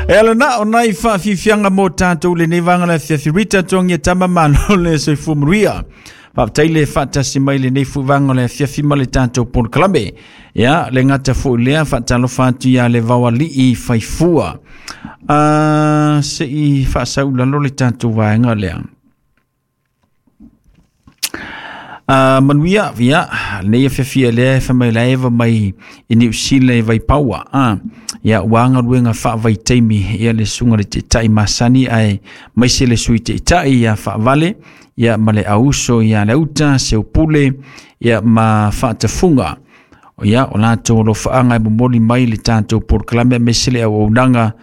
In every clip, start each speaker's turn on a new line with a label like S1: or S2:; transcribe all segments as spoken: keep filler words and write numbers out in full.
S1: E ala na o nai whaafifianga mō tātou le nei vanga le fiafi Rita tongi e tama malo le soifua manuia. Faafetai le faatasi mai lenei fuivaga o le afiafi ma le tatou polokalame. Ia le gata fo'i lea faatalofa atu ia le vaoali'i faifua. A se'i faasaulalo le tatou vaega lea. Uh, manuia ia nei afiafi lea e famaila eva mai i Niu Sila e Vaipaua. Ah, ia ua galuega faavaitaimi ia le suga le taitai masani ae maise le sui taitai ia faavale ia ma le auso ia le uta seupule ia ma faatafuga. Ia o latou alofaaga e momoli mai le tatou polokalame aemaise le auaunaga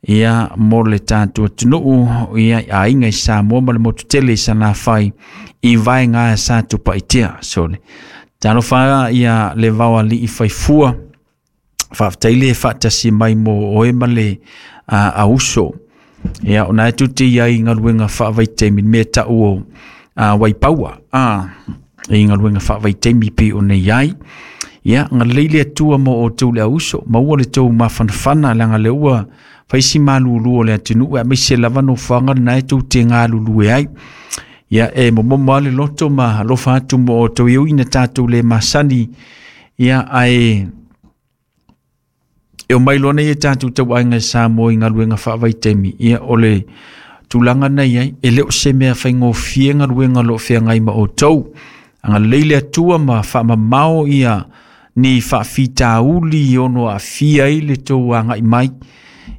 S1: ia mo le tatou atunuu ia aiga i Samoa ma le motu tele i Salafai i vaega sa tupaitea. So le talofa ia le vaoali'i faifua faafetai le faatasi mai mo oe ma le uh, auso. Ia ona e tute ia i galuega faavaitaimi mea ta'u o uh, Waipaua ah, i galuega faavaitaimi pei ona i ai. Ia galei le Atua mo outou le auso maua le tou mafanafana leaga le ua faisi malulu o le atunuu aemaise lava nofoaga lena e tou te galulue ai. Ia e momomo lava le loto ma alofa atu mo outou e ui ina tatou le masani. Ia ae e o mai loa nei e tatou tauaiga i Samoa i galuega faavaitaimi. Ia o le tulaga na i ai e le o se mea faigofie galuega o loo feagai ma outou. Agalelei le Atua ma faamamao ia ni faafitauli ono aafia ai le tou agai mai.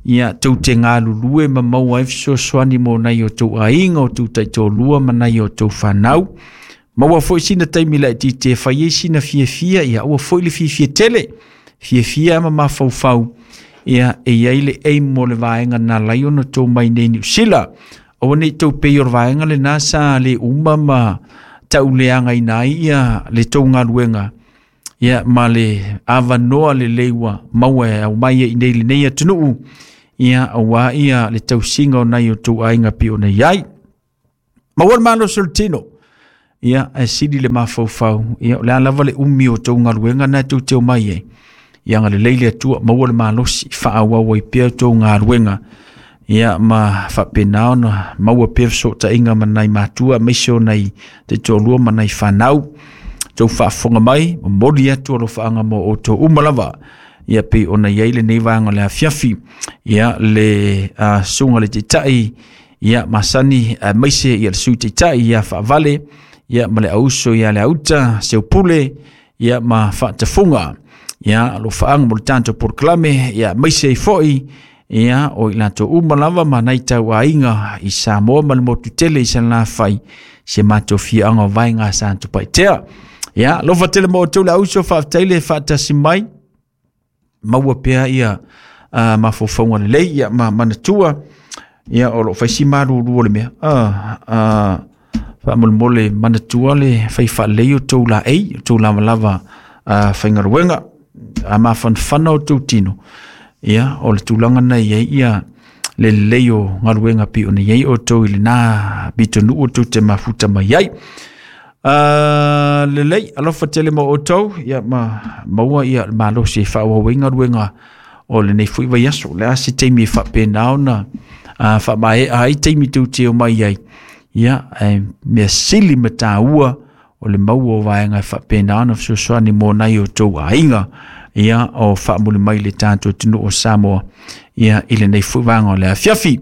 S1: Ia tou te galulue ma maua ai fesoasoani mo nai o tou aiga o tou taitolua ma nai o tou fanau. Maua foi sina taimi laitiiti e fai ai sina fiafia. Ia aua foi le fiafia tele fiafia ma mafaufau. Ia e iai le aim mo le vaega na lai ona tou mai nei Niu Sila. Aua nei tou pei o le vaega lena sa le uma ma tauleagaina ai ia le tou galuega. Ia ma le avanoa lelei ua maua e aumai ai i lenei atunuu. Ia auā ia le tausiga o nai o tou aiga pei ona i ai. Maua le malosi o le tino. Ia ae sili le mafaufau. Ia o le a lava le umi o tou galuega na e tou te omai ai. Ia agalelei le Atua maua le malosi faaauau ai pea tou galuega. Ia ma faapena ona maua pea fesootaiga ma nai matua aemaise o nai taitoalua ma nai fanau. Tou faafofoga mai momoli atu alofaaga mo outou uma lava. Ia pei ona i ai lenei vaega o le afiafi. Ia le uh, suga le taitai ia masani aemaise ia le sui taitai ia faavale ia ma le auso ia le auta seupule ia ma faatafuga. Ia alofaaga mo le tatou polokalame ia aemaise ai fo'i ia o i latou uma lava ma nai tauaiga i Samoa ma le motu tele i Salafai se matou fiaga o vaega sa tupaitea. Ia alofa tele mo outou le auso faafetai le faatasi mai maua pea ia uh, mafaufauga lelei ia ma manatua ia o loo faisi malulu o le mea uh, uh, faamolemole manatua le fai faalelei o tou laei o tou lavalava uh, faigaluega a mafanafana o tou tino. Ia o le tulaga na i ai ia le lelei o galuega pei ona i ai outou i lena pitonuu o tou te mafuta mai ai. Uh, lelei alofa tele mo outou ia ma maua ia le malosi e faaauau ai galuega o lenei foi vaiaso. O le a se taimi e faapena ona uh, faamaea ai taimi tou te omai ai. Ia ae mea sili ma taua o le maua o vaega e faapena ona fesoasoani mo nai o tou aiga. Ia o faamuli mai le tatou atunuu o Samoa ia i lenei foi vaega o le afiafi.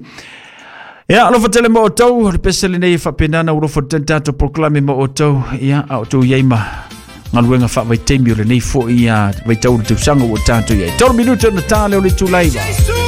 S1: Ia alofa tele mo outou le pese lenei e faapena ona alofa tele tatou polokalame mo outou. Ia a outou i ai ma galuega faavaitaimi o lenei foi ia vaitau o le tausaga ua tatou i ai. Tolu minute ona ta lea o le itula iva.